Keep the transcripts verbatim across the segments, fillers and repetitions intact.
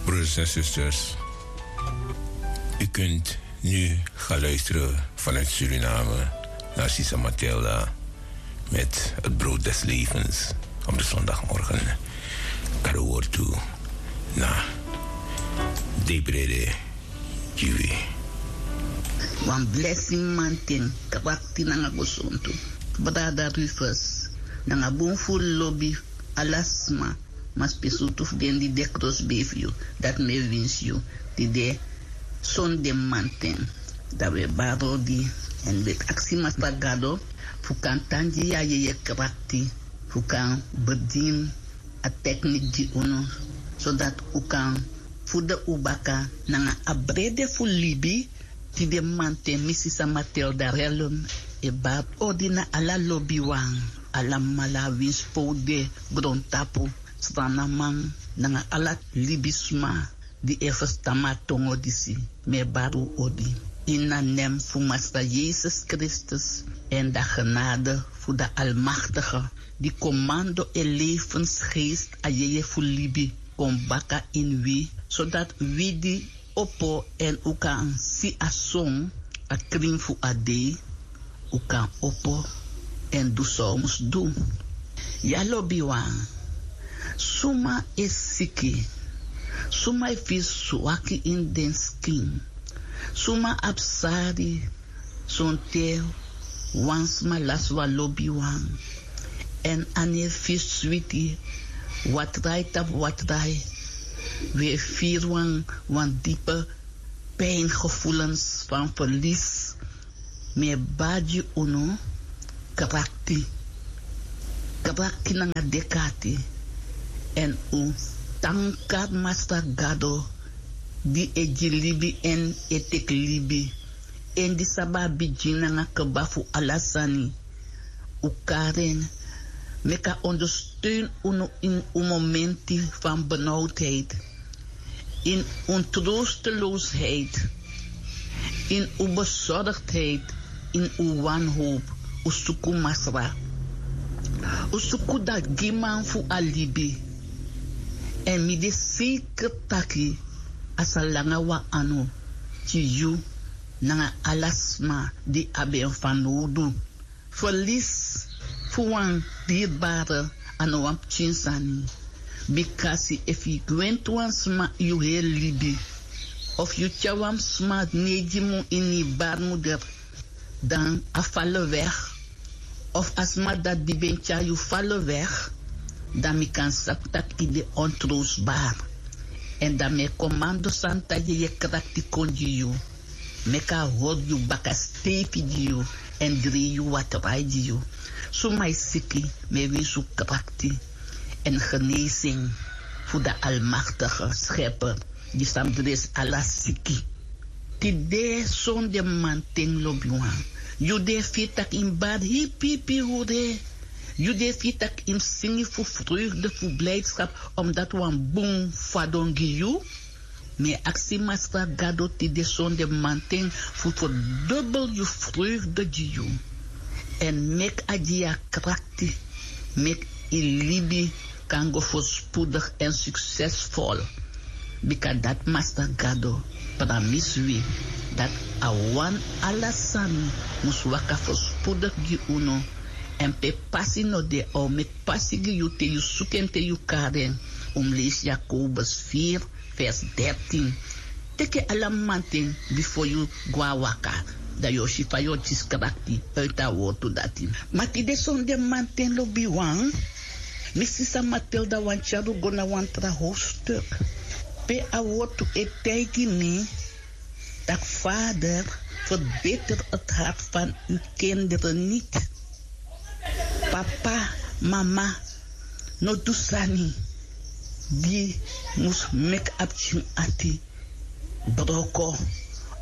Broeders en zusters, u kunt nu gaan luisteren vanuit Suriname naar Sisa Matilda met het brood des levens op de zondagmorgen. Karuwortu na Debrede Kiwi. Wan blessing manten, krakti nanga gosontu. Brada Rufus, nanga bun fu lobi ala sma, ma spesrutu fu den di de krosbei fu yu, dati mi e winsi yu tide sonde manten. Dan wi e bari odi èn wi e aksi Masra Gado fu kan tan gi yu a yeye krakti, fu kan bedini a teknik gi unu, sodati un kan furu un baka nanga a brede fu libi. Tide manten mi Sisa Matilda Rellum e bari odi na ala lobiwan, alamala winsi pe un de, grontapu, sranaman nanga ala libisma di e ferstan mi a tongo disi. Mi e bari un odi ini a nen fu Masra Yesus Kristus èn da genade fu da Almaktige, di komando e lefensgeest a yeye fu libi kon baka ini wi, sodati wi di opo èn un kan si a son, a krin fu a dei, un kan opo èn du san un mus du. Ya lobiwan, suma e siki? Suma e firi swaki ini den skin? Suma abi sari? Sonten wan sma lasi wan lobiwan èn a no e firi switi. Watrai tapu watrai wi e firi wan, wan dipe pijngevoelens van verlies. Mi e bari gi unu krakti, krakti nanga dek'ati. Èn un tankari Masra Gado di e gi libi èn e teki libi, èn di sabi a bigin nanga kba fu ala sani. Un kari en. Meki a ondersteun unu ini un momenti van benauwdheid, in un troosteloosheid, in un bezorgdheid, in un wanhoop. Un suku Masra, un suku da giman fu a libi. Èn mi de seker taki a sa langa wan anu gi yu nanga ala sma di abi en fanowdu. Verlies fu wan dierbare a no wan pikin sani. Bikasi efu yu gwenti wan sma yu heri libi, of yu tyari wan sma neigi mun ini yu baarmoeder, dan a fali weg, of a sma dati di ben tyari yu fali weg, dan mi kan sabi taki yu de ontroostbaar. Èn dan mi e komando Santa Yeye krakti kon gi yu. Meki a hori yu baka steifi gi yu èn dri yu watrai gi yu. Suma e siki, mi e winsi un krakti èn genezing fu da Almaktige Schepper di sa mus dresi ala siki. Tide sonde manten lobiwan, yu di e firi tak' yu mus bari hipi hipi hure, yu di e firi tak' yu mus singi fu vreugde, fu blijdschap, omdat wan bun fadon gi yu. Mi e aksi Masra Gado tide sonde manten fu ferdobel yu vreugde gi yu. Èn meki a gi yu a krakti, meki yu libi kan go voorspoedig en succesvol. Bika dati Masra Gado pramisi wi, dati a wani ala sani mus waka voorspoedig gi unu. Èn pe pasi no de, a o meki pasi gi yu te yu suku en, te yu kari en. Un mus leisi Jakobus vier vers dertien. Teki ala manten bifo yu go na waka, dan yu o si fa yu o kisi krakti uiti a wortu dati. Ma tide sonde manten lobiwan, mi Sisa Matilda wani tyari un go na wan tra hoofdstuk, pe a wortu e taigi mi taki: Vader, verbitter het hart van uw kinderen niet. Papa, mama, no du sani di mus meki a pikin ati broko,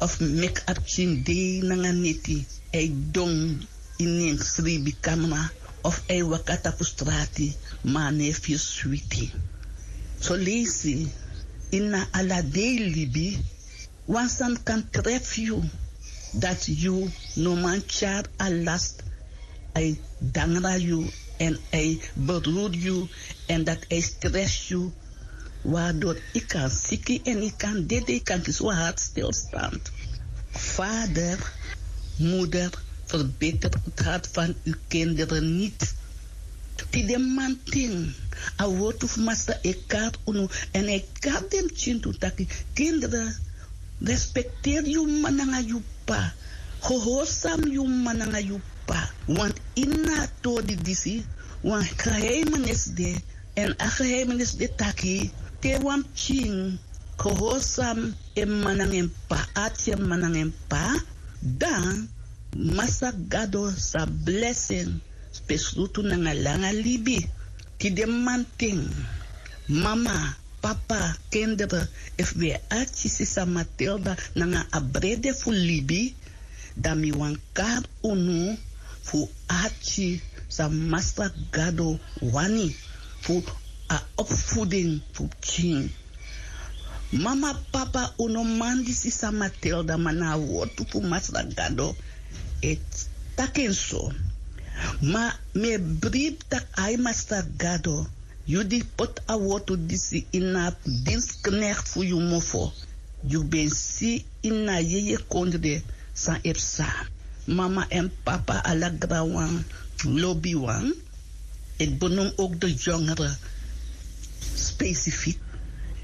of meki a pikin dei nanga neti, a e don ini en sreibikamra, of a e waka tapu strati, ma a no e firi switi. Soleisi ini a ala dei libi, wan sani kan trefi yu, dati yu no man tyari a last, a e dangra yu, èn a e beruri yu, èn dati a e stresi yu. Wardor yu kan siki èn yu kan dede yu kan kisi wan hartstilstand. Vader, moeder, verbeter het hart van yu kinderen nit. Tide manting a wortu fu masra e kari unu, èn a e kari den pikin tu taki, kinderen, respekteri yu mama nanga yu p'pa. Gehorsam yu mama nanga yu p'pa. Want ini a tori disi wan geheimenis de. Èn a geheimenis de taki, te wan pikin gehorsam en mama nanga en p'pa, arki en mama nanga en p'pa, dan masra gado sa blesi en spesrutu nanga langa libi. Tide manten, mama, papa, kinderen, efu wi e arki sisa Matilda nanga a brede fu libi, dan mi wani kari unu fu arki san masra gado wani fu a opvoeding fu pikin. Mama, papa, un no man disi san Matilda, ma na a wortu fu masra gado e taki en so. Ma mi e bribi taki ai masra gado, yu di poti a wortu disi ini a dinsknekti fu yu mofo, yu ben si ini a yeye kondre san e psa. Mama èn papa, ala granwan, lobiwan, ik benoem ook de jongeren specifiek.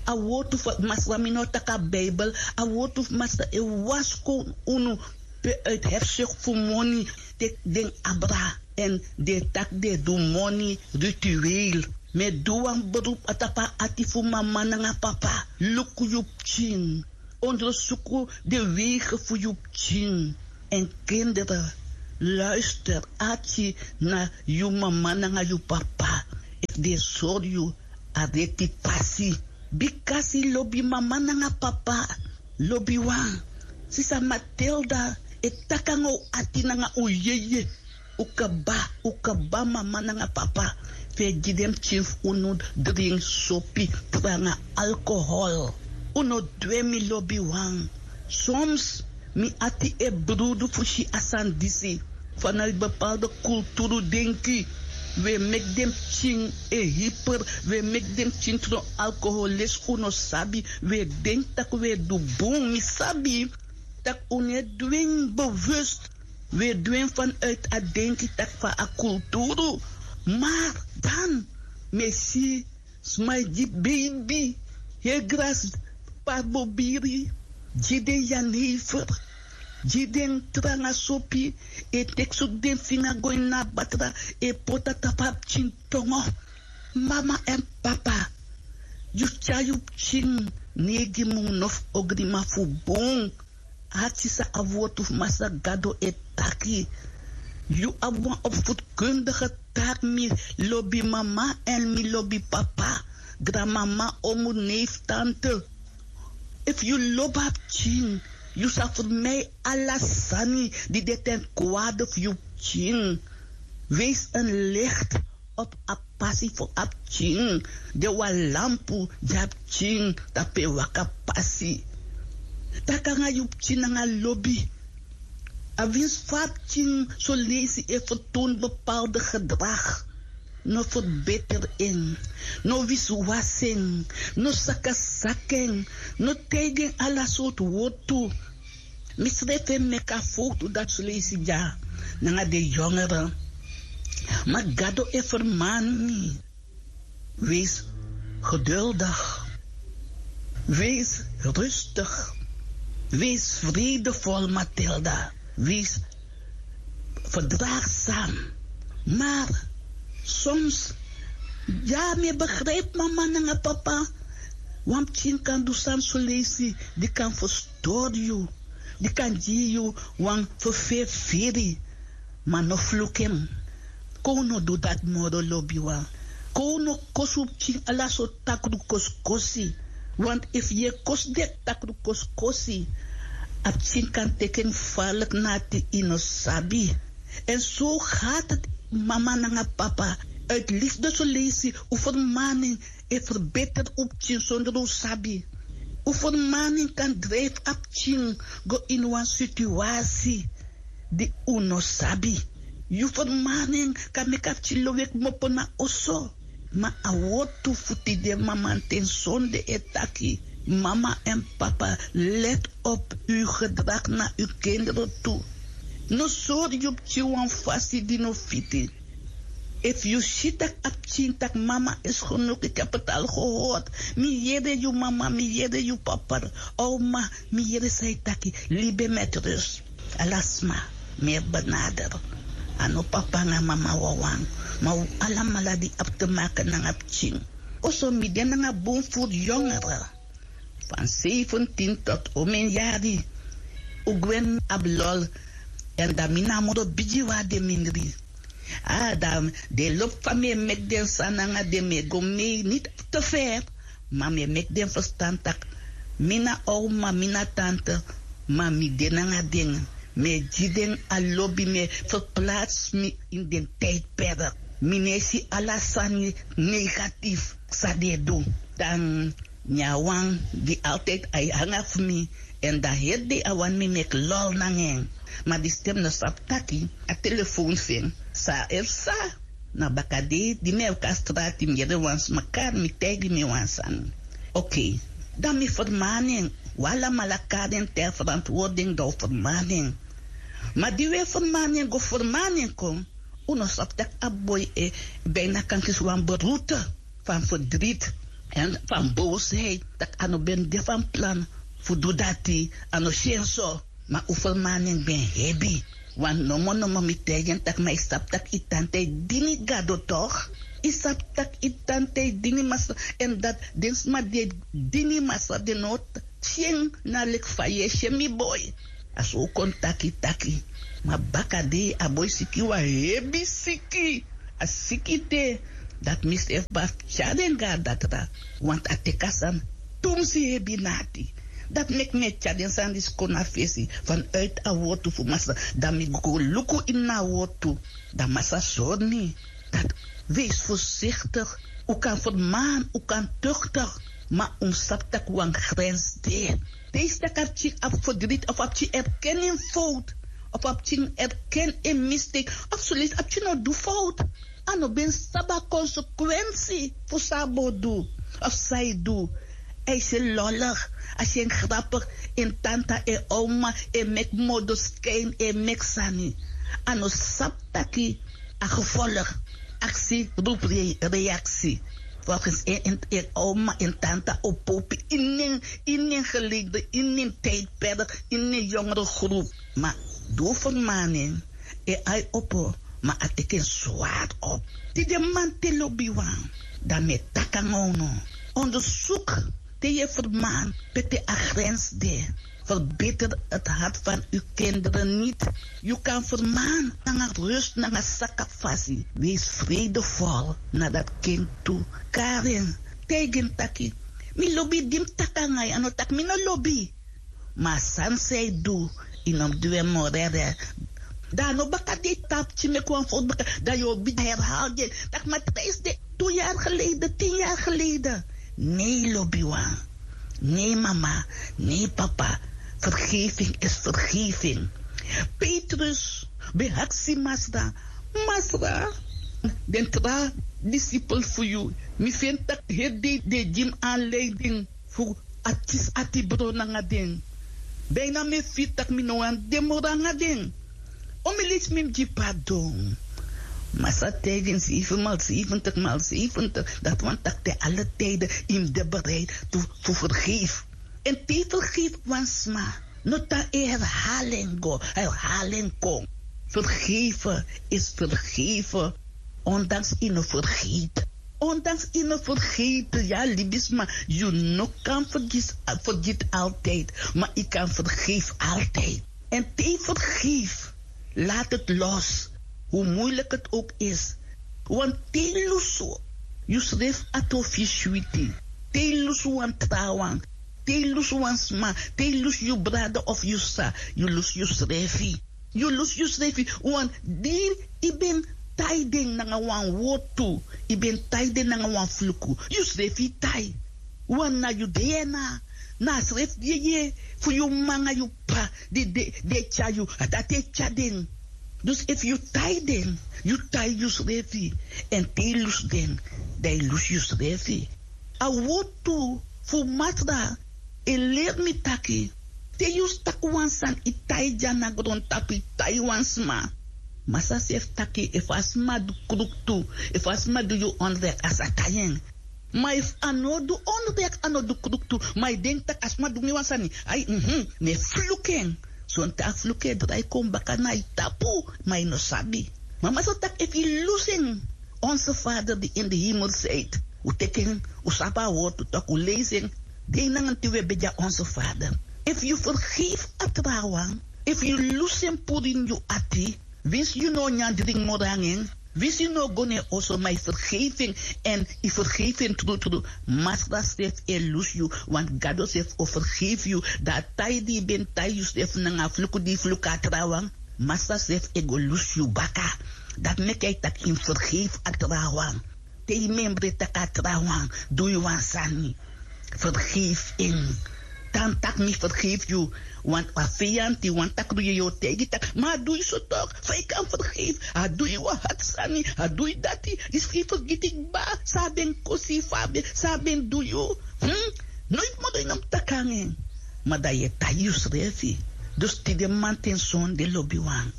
A wortu fu masra, mi no taki a Bijbel, a wortu fu masra e waskownu unu pe uit hefsuk fu moni, teki den abra èn den e taki den e du moni ritueel. Mi e du wan beroep na tapu a ati fu mama nanga papa. Luku yu pikin. Ondersuku den wegen fu yu pikin. Èn kinderen, luister, arki na yu mama nanga yu papa efu den e sori yu a reti pasi. Bikasi lobi mama nanga papa. Lobiwan, sisa Matilda e taki nanga un ati nanga un yeye. Un kaba, un kaba mama nanga papa fu e gi den pikin fu unu dringi sopi tranga alkohol. Un no du en, mi lobiwan. Soms mi ati e brudu fu si a sani disi. Vanuit bepaalde kulturu denki, wi e meki den pikin e hiper, wi e meki den pikin tron alkoholis, un no sabi. Wi e denki tak' wi e du bun, mi sabi tak' un no e du en bewust. Wi e du en vanuit a denki tak' fa a kulturu. Maar dan mi e si sma e gi beibi heri grasi, parbobiri, gi den jenever, gi den tranga sopi, e teki sutu den finga go ini a batra, e poti na tapu a pikin tongo. Mama èn papa, yu tyari yu pikin neigi mun nofu ogriman fu bun. Arki san a wortu fu masra gado e taki. Yu abi wan opvoedkundige taak, mi lobi mama èn mi lobi papa, granmama, omu, neef, tante. Efu yu lobi a pikin, yu sa fermei ala sani di de ten kwade fu yu pikin. Wees en licht op a pasi fu a pikin. De wan lampu gi a pikin tapu en waka pasi. Taki nanga yu pikin nanga lobi. A winsi fa a pikin son leisi e fertoon bepaalde gedrag, no ferbeter en, no wisiwasi en, no sakasaki en, no taigi en ala sortu wortu. Mi srefi e meki a fowtu dati son leisi dya nanga den yongere. Ma Gado e fermani mi. Wees geduldig. Wees rustig. Wees vredevol, Matilda. Wees verdraagzaam. Maar soms, ya, mi e begrijp mama nanga papa. Wan pikin kan du sani son leisi di kan verstori yu, di kan gi yu wan ferferi firi. Ma no fluku en. Kon un no du dati moro, lobiwan. Kon un no kosi un pikin ala sortu takru kosikosi. Want efu yu e kosi den takru kosikosi, a pikin kan teki en gevaarlijk na ati, yu no sabi. En zo gaat het, mama nanga papa. Uit liefde son leisi un fermaning e ferbeter un pikin sonder un sabi. Un fermaning kan drijfi a pikin go ini wan situasi di un no sabi. Yu fermaning kan meki a pikin lowe kmopo na oso. Ma a wortu fu tide mamanten sonde e taki. Mama èn papa, let op un gedrag na un kinderen tu. No sori yu pikin wan fasi di no fiti. Efu yu si tak' a pikin tak' mama esi genoki, eki a petal gehord. Mi yere yu mama, mi yere yu papa. Oma, mi yere san yu taki. Libi en met rus. Ala sma mi e benader. A no papa nanga mama wawan, ma un alamala di abi te make nanga pikin. Oso mi de nanga bun furu yongere, fan sefentin tot omen yari. Un gwe na abi lol. Èn dan mi na a moro bigi wan a den mindri. A dan den e lobi fa mi e meki den sani nanga den, mi e go mei niti te feri. Ma mi e meki den ferstan tak' mi na oma, mi na tante. Ma mi de nanga den. Mi e gi den a lobi, mi e ferplatsi mi ini den tijdperk. Mi no e si ala sani negatief san den e du. Dan nyan wan di altijd a e hanga fu mi. Èn dan heri dei a wani mi meki lol nanga en. Ma di stem no sabi taki a telefoon fu en sa e psa. Na bakadei di mi e waka strati, mi yere wan sma kari mi, taigi mi wan sani. Okei, dan mi fermani en. Un alamala kari en te a ferantwortu den, dan un fermani en. Ma di un e fermani en go fermani en kon, un no sabi tak' a boi e bijna kan kisi wan beroerte fan ferdriti èn fan bowsheid, tak' a no ben de fan plan fu du dati. A no si en so. Ma un fermani en ben hebi. Wan nomo nomo mi taigi en tak' ma yu sabi tak' yu tante e dini Gado toch? Yu sabi tak' yu tante e dini Masra, èn dati den sma di e dini Masra den no si en na leki fa yu e si en, mi boi. A so un kon taki taki. Ma bakadei a boi siki wan hebi siki. A siki te dati mi srefi ben abi fu tyari en go na datra. Want a teki a sani tumsi hebi na ati. Dati meki mi e tyari den sani disi kon na fesi vanuit a wortu fu Masra. Dan mi go luku ini a wortu. Dan Masra sori mi dati wees voorzichtig. Un kan fermani, un kan tuchtig, ma un sabi tak' wan grens de. Te yu si tak' a pikin abi ferdriti of a pikin erken en fout, of a pikin erken en mistake, of soleisi a pikin no du fout. A no ben sabi a konsekwensi fu san a bo du of san yu du. A e si en lollig, a si en grapig, en tanta, en oma e meki modoskin, e meki sani. A no sabi taki a gevolg, aksi roepi reaksi. Volgens en, en oma, en tanta o popi ini en, ini en geleden, ini en tijdperk, ini en jongere groep. Ma di un fermani en, en ai opo, ma a teki en zwaar op. Tide man te lobi wan, dan mi e taki nanga unu. Onderzoek te yu e fermani pe te a grens de. Verbitter het hart van uw kinderen niet. Yu kan fermani nanga rust, nanga saka fasi. Wees vredevol na dat kind tu. Kari en, taigi en taki: mi lobi yu. Di mi taki nanga yu, a no taki mi no lobi yu. Ma a sani san yu du, yu no mus du en moro. Dan a no baka di yu tapu, te yu meki wan fout baka, dan yu o bigin herhaal gi en. Taki: ma trijs de tu yari geleden, tin yari geleden. Nee, lobiwan. Nee, mama. Nee, papa. Vergeving is vergeving. Petrus ben aksi Masra: Masra, den tra disipel fu yu, mi feni tak' heri dei den e gi mi aanleiding fu a kisi ati bron nanga den. Bijna mi e firi tak' mi no wani de moro nanga den. Omeni leisi mi mus gi pardon. Masra taigi en zeven maal zeventig maal zeventig. Dati wani taki te alle tijden yu mus de bereid fu, fu vergeef. Èn te yu vergeef wan sma, no tan e herhaal en go, herhaal en kon. Vergeven is vergeven, ondanks yu no vergeet. Ondanks yu no vergeet, ya libisma, yu no kan vergis, vergiet altijd, maar yu kan vergeef altijd. Èn te yu vergeef, laat het los, hoe moeilijk het ook is. Want te yu lusu yusrefi, a trofi switi. Te yu lusu wan trawan, te yu lusu wan sma, te yu lusu yu brada of yu sisa, yu lusu yusrefi. Yu lusu yusrefi, want di yu ben tai den nanga wan wortu, yu ben tai den nanga wan fluku, yusrefi yu tai. Want na yu DNA, na a srefi yeye fu yu mama nanga yu p'pa di, di, di e tyari yu, a dati e tyari den. Dus efu yu tai den, yu tai yusrefi. Èn te yu lusu den, dan yu lusu yusrefi. A wortu fu masra e leri mi taki, te yu si tak' wan sani e tai dya na grontapu e tai wan sma, masra srefi taki efu a sma du kruktu, efu a sma du yu ondrek a sa tai en. Ma efu a no du ondrek a no du kruktu, ma yu denki tak' a sma du mi wan sani, ai, mhm, mi e fluku en. Sonten a fluku e drai kon baka na yu tapu, ma yu no sabi. Ma masra taki efu yu lusu en, onse fader di ini di himel side, un teki en, un sabi a wortu tak' un leisi en. Dei nanga tin un e begi a onse fader. Efu yu fergefi a trawan, efu yu lusu en puru ini yu ati, winsi yu no o nyan dringi moro nanga en, winsi yu no o go na en oso, ma yu fergefi en. Èn yu fergefi en trutru, masra srefi e lusu yu. Wantu gado srefi o fergefi yu. Dan a tai di yu ben tai yusrefi nanga a fluku di yu fluku a trawan, masra srefi e go lusu yu baka. Dati meki a e taki yu mus fergefi a trawan. Te yu memre tak' a trawan du yu wan sani, fergefi en. Tan tak' mi fergefi yu. Wantu a feyanti wani taki du yu, yu o taigi tak', ma a du yu so tok', fa yu kan fergefi? A du yu wan hati sani, a du yu dati. Disi fu yu fergiti kba san a ben kosi yu, fa a ben, san a ben du yu. Noiti moro yu no mus taki nanga en. Ma dan yu e tai yusrefi. Dus tide mamanten sonde lobiwan,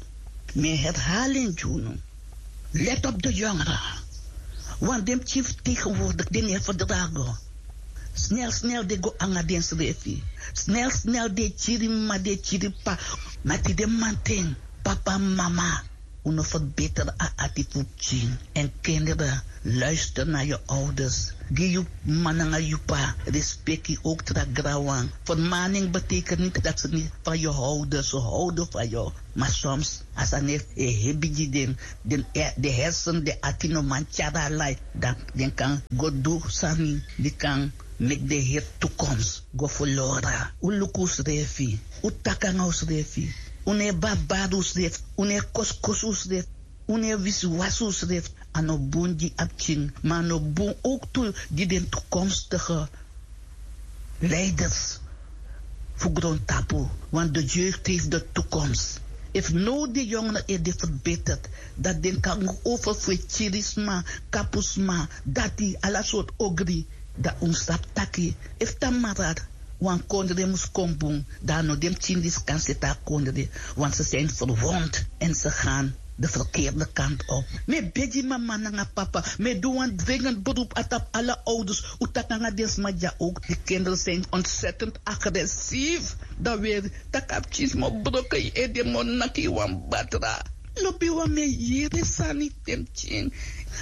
mi e herhali en gi unu. Let op de jongeren. Want den pikin fu tegenwoordig, den no e ferdrago. Snel snel den go nanga densrefi. Snel snel den e kiri mama, den e kiri papa. Ma tide mamanten, papa, mama, un no ferbeter a ati fu pikin. Èn kinderen, luister na yu ouders. Gi yu mama nanga yu papa respeki, ook tra granwan. Vermaning betekent niet dat ze niet van je houden, ze houden van jou. Ma soms a sani e hebi gi den, den hersen, den ati no man tyari a lai, dan den kan go du sani di kan meki den heri toekomst go verlora. Un luku unsrefi, un taki nanga unsrefi. Un no e babari unsrefi, un no e kosikosi unsrefi, un no e wisiwasi unsrefi. A no bun gi a pikin, ma a no bun ook tu gi den toekomstige leiders fu grontapu. Want de jeugd heeft de toekomst. Efu now den yongeren e de verbeterd, dan den kan go over fu e kiri sma, kapu sma, dati, ala sortu ogri. Dan un sabi taki, efu tamara wan kondre mus kon bun, dan a no den pikin disi kan seti a kondre. Want ze zijn verwond en ze gaan de verkeerde kant op. Mi e begi mama nanga papa, mi e du wan dringend beroep na tapu ala ouders, un taki nanga den sma dya ook. Die kinderen zijn ontzettend agressief. Dan weri tak' a pikin sma o broko yu ede, mi o naki yu wan batra. Lobiwan, mi e yere sani, den pikin.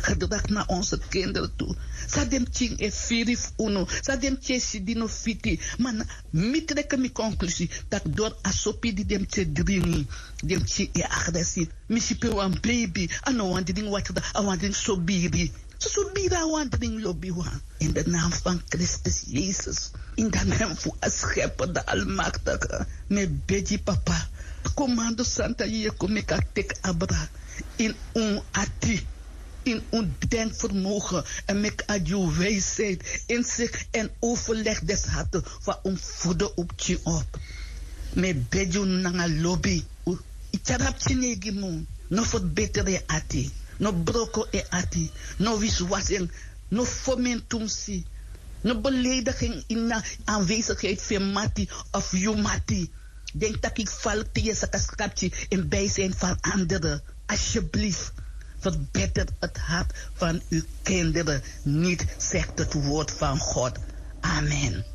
Gedrag na onze kinderen tu. San den pikin e firi fu unu, san den pikin e si di no fiti. Ma na mi treke mi konklusi tak' dori a sopi di den pikin e dringi, den pikin e agressief. Mi si pe wan beibi, a no wani dringi watra, a wani dringi sobiri. Sosobiri a wani dringi, lobiwan. In de naam van Kristus Jezus, in de naam fu a Schepper, de Almachtige, mi e begi papa, komando santa, yu e kon meki a teki abra in un ati, in un denkvermogen, èn meki a gi un wijsheid, inzicht en overleg des harten, fa un fu furu un pikin op. Mi e begi unu nanga lobi. Yu tyari a pikin e gi mi, no ferbeter en ati, no broko en ati, no wisiwasi en, no fomen tumsi, no beleidigi en ini a aanwezigheid fu en mati of yu mati. Denki tak' yu falik te yu e saka saka pikin in bijzijn van anderen. Alsjeblieft, verbitter het hart van uw kinderen niet, zegt het woord van God. Amen.